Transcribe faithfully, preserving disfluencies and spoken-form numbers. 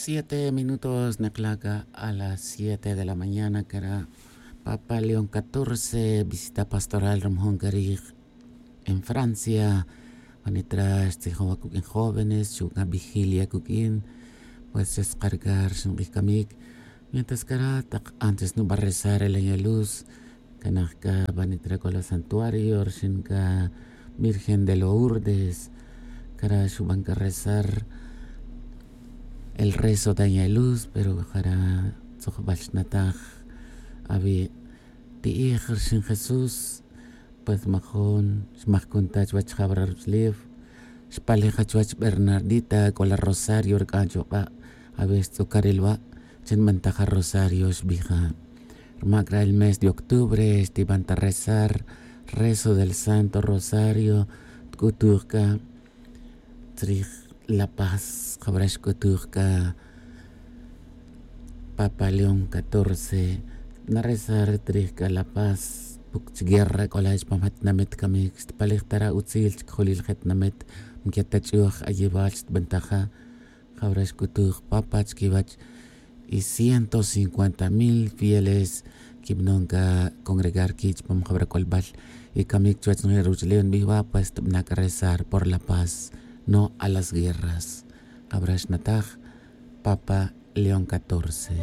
Siete minutos nekla' ca a las siete de la mañana cara papa león catorce visita pastoral rumjon carij en francia. Vanitra xtzijon va cuq'uin jóvenes xu' ca vigilia cuq'uin. Pues xeskarcar xinq'uij camic mientras cara tak antes nuba rezar el añaluz. Canaj ca vanitra c'o la santuario rixin ca virgen de lourdes. Cara xuban ca rezar el rezo de añaluz pero jara tzojbal xnataj. Avi ti'ij rixin jesús. Pues majun xmajcun ta chuwech jabra ruch'ulef. Xpalej achuwech bernardita c'o la rosario rc'an chuk'a'. Avi xtz'ucaril wa' chin bantaja rosario xbija. Rmac ra el mes de octubre xtiban ta rezar rezo del santo rosario. Tic'utuj c'a tzrij la paz jabra xc'utuj c'a papa león catorce. Narezar tzrij c'a la paz puc chi guerra c'o la chupam ja tinamit camic xtpalij ta ra utzil chicjolil je tinamit. Mque ta ch'uj ayibal xtbantaja jabra xc'utuj papa chiquiwech y ciento cincuenta mil fieles quibanon c'a congregar qui chupam jabra c'olbal. Y camic chuwech nje ruch'ulef nbij wa pues tbana c'a rezar por la paz no a las guerras. Jabra xnataj papa león catorce.